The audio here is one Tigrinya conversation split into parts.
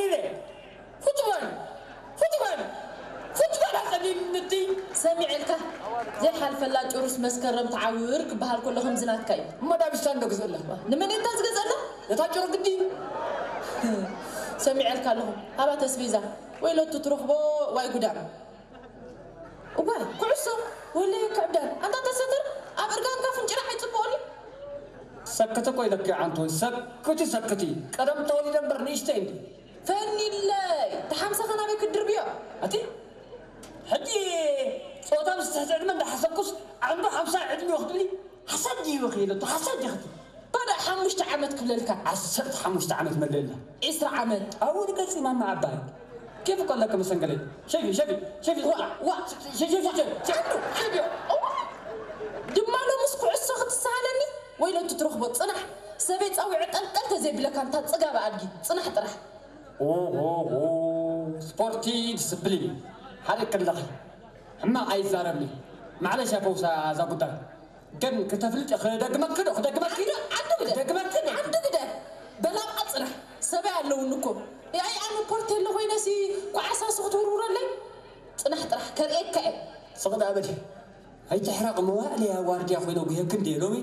ኢለ፣ ፉትቦል፣ ፉትቦል፣ ፉትቦል ኣጸሊሉኒ እቲ። ሰሚዐልካ፣ ዘይሓልፈላ ጭሩስ መስከረም ትዓውር ክበሃል ከሎ ከምዚ ናትካ እዩ። እሞ ዳብስታ እንዶ ግዝእ ኣለኹ። ንመን እታ ዝገዝእ ኣላ? ነታ ጭሮ ግዲ። ሰሚዐልካ ኣለኹ። ሃባ ተስቤዛ፣ ወይ ሎቱ ትረኽቦ፣ ዋይ ጉዳም። እዋይ፣ ኩዕሶ፣ ወለየ ክዕብዳን። ኣንታ ተሰተር፣ ኣብ እርጋንካ ፍንጭራሕ ኣይጽብቐሉ። ሰክቲ እኮ ኢለኪ ዓንቶ፣ ሰክቲ፣ ሰክቲ። ቀደም ተወሊደ እምበር ንእሽተይ እንዲ። ፈኒለይ፣ ተሓምሳኻ ናበይ ክትድርብዮ? ኣቲ፣ ሕጂ ጾታ ምስ ትሕቲ ዕድመ እንዳሓሰብኩስ፣ ዓንዶ ሓምሳ ዕድሚኡ ክትብሊ፣ ሓሳድ ድዩ ኢኺ ኢለቶ፣ ሓሳድ ዲኺ? ባዳ ሓሙሽተ ዓመት ክብለልካ። ዓሰርተ ሓሙሽተ ዓመት መለላ። ዒስራ ዓመት። ኣብኡ ንገጺ ማማ ዓባይ። ኬፍ እኮ ኣለኪ መሰንገለይ። ሸፊ፣ ሸፊ፣ ሸፊ። ዋ፣ ዋ። ሸፊ፣ ሸፊ፣ ሸፊ። ሸፊ፣ ሸፊ። እዋ። ድማ ሎምስ ኩዕሶ ክትሰሃለኒ? ወይለቱ ትረኽቦ፣ ጽናሕ። ሰበይ ጸዊዐ ጠልጠል ተዘይብለካ፣ እንታ ጽጋብ ኣድጊ። ጽናሕ ጥራሕ። ኦሆሆ፣ ስፖርቲ ዲስፕሊን። ሓደ ክለኺ። ሕማቕ ኣይዛረብኒ። ማዕለሽ እያ ፈውሳ እዛ ጉዳይ። ግን ክተፍልጥ ክደግመኪ ዶ? ክደግመኪ? ዓንዱ፣ ዓንዱ ግደ። ክደግመኪ ዶ? ዓንዱ ግደ። በላቕ ጽናሕ። ሰበይ ኣለውኒ እኮ። ያይ ኣነ ፖርቴሎ ኮይነሲ ኳዕሳሱ ክትውርውረለይ? ጽናሕ ጥራሕ ከርእየካ እየ። ስቕ ደኣ በሊ። ኣይትሕረቕ፣ መዋእለ እያ ዋርድያ ኮይነ ጉሄኪ እንድየ ሎሚ።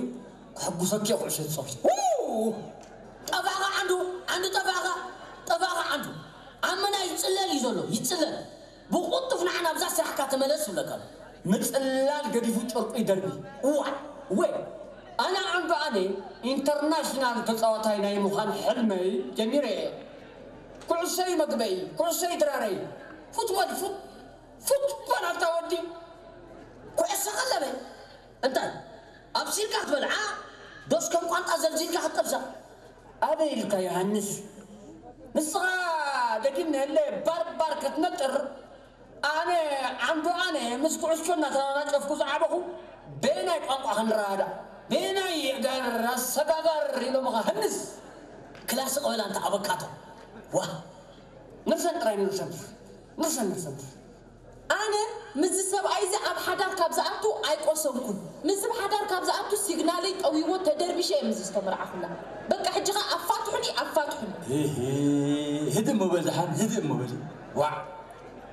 ከሐጉሰኪ እየ ኩዕሾ ትጻወቲ። ው! ጠፋእኻ ዓንዱ፣ ዓንዱ ጠፋእኻ፣ ጠፋእኻ ዓንዱ። ኣመና ይጽለል እዩ ዘሎ፣ ይጽለል። ብቕልጡፍ ንዓ ናብዛ ስራሕካ ተመለስ ይብለካ ኣሎ። ምጽላል ገዲፉ ጨርቁ ይደርቢ። እዋ፣ ወይ፣ ኣነ ዓንዱ ኣነ ኢንተርናሽናል ተጻዋታይ ናይ ምዃን ሕልመይ ጀሚረ እየ። ኩዕሶይ መግበይ፣ ኩዕሶይ ድራረይ። ፉትቦል፣ ፉት-፣ ፉትቦል ኣታ ወዲ። ኩዕሶ ቀለበ። እንታይ? ኣብሲልካ ክትበልዓ? ዶስ ከም ቋንጣ ዘልዚልካ ክትጠብሳ? ኣበይ ኢልካ ዮሃንስ? ንስኻ ደጊም ንህለ ባርባር ክትነጥር፣ ኣነ ዓንዱ ኣነ ምስ ኩዕሾ እናተናናጨፍኩ ዝዓበኹ፣ በየናይ ቋንቋ ክንረዳዳእ? በየናይ የእጋር ኣሰጋጋር ኢሎምኻ ህንስ? ክላስ ቅበል ኣንታ ኣበካቶ። ዋ! ንርሰን ጥራይ ንርሰን። ንርሰን ንርሰን። ኣነ ምስዚ ሰብኣይ እዚ ኣብ ሓዳር ካብ ዝኣቱ ኣይቆሰንኩን። ምስዚ ኣብ ሓዳር ካብ ዝኣቱ ሲግናለይ ጠዊዎ ተደርቢሸ እየ ምስዚ ዝተመርዓኹላ። በቃ ሕጂ ኸኣ ኣፋትሑኒ፣ ኣፋትሑኒ። እህ፣ ህድእ እሞ በል ደሓን፣ ህድእ እሞ በል። ዋዕ።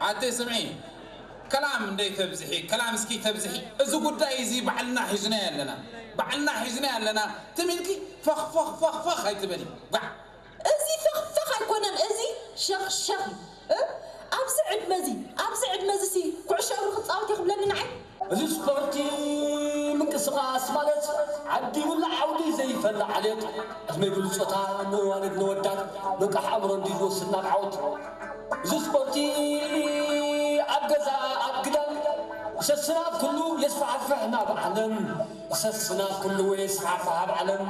ኣደይ ስምዒ፣ ከላም እንደይ ተብዝሒ፣ ከላም እስኪ ተብዝሒ። እዚ ጉዳይ እዚ ባዕልና ሒዝናዮ ኣለና። ባዕልና ሒዝናዮ ኣለና። ትም ኢልኪ ፈኽ፣ ፈኽ፣ ፈኽ፣ ፈኽ ኣይትበሊ። ዋዕ። እዚ ፈኽፈኽ ኣይኮነን፣ እዚ ሸኽሸኽ እዩ። እ? ኣብዚ ዕድመ እዚ፣ ኣብዚ ዕድመ እዚ ሲ ኩዕሾ እግሪ ክጻወት እየ ክብለኒ ንዓይ? እዚ ስፖርቲ ምንቅስቓስ ማለት ዓዲ ይብላዕ ዓውዲ ዘይፈላ ዓሌት፣ ዕድመ ይብሉ ጾታ፣ ንዋልድ ንወዳት፣ ንቃሕ ኣእምሮ እንድዩ ዝወስድ ናብ ዓወት። እዚ ስፖርቲ ኣብ ገዛ፣ ኣብ ግዳም፣ ሰስና ኩሉ የስፋሕፍሕ ናብ ዓለም፣ ሰስና ኩሉ የስፋሕፍሕ ኣብ ዓለም።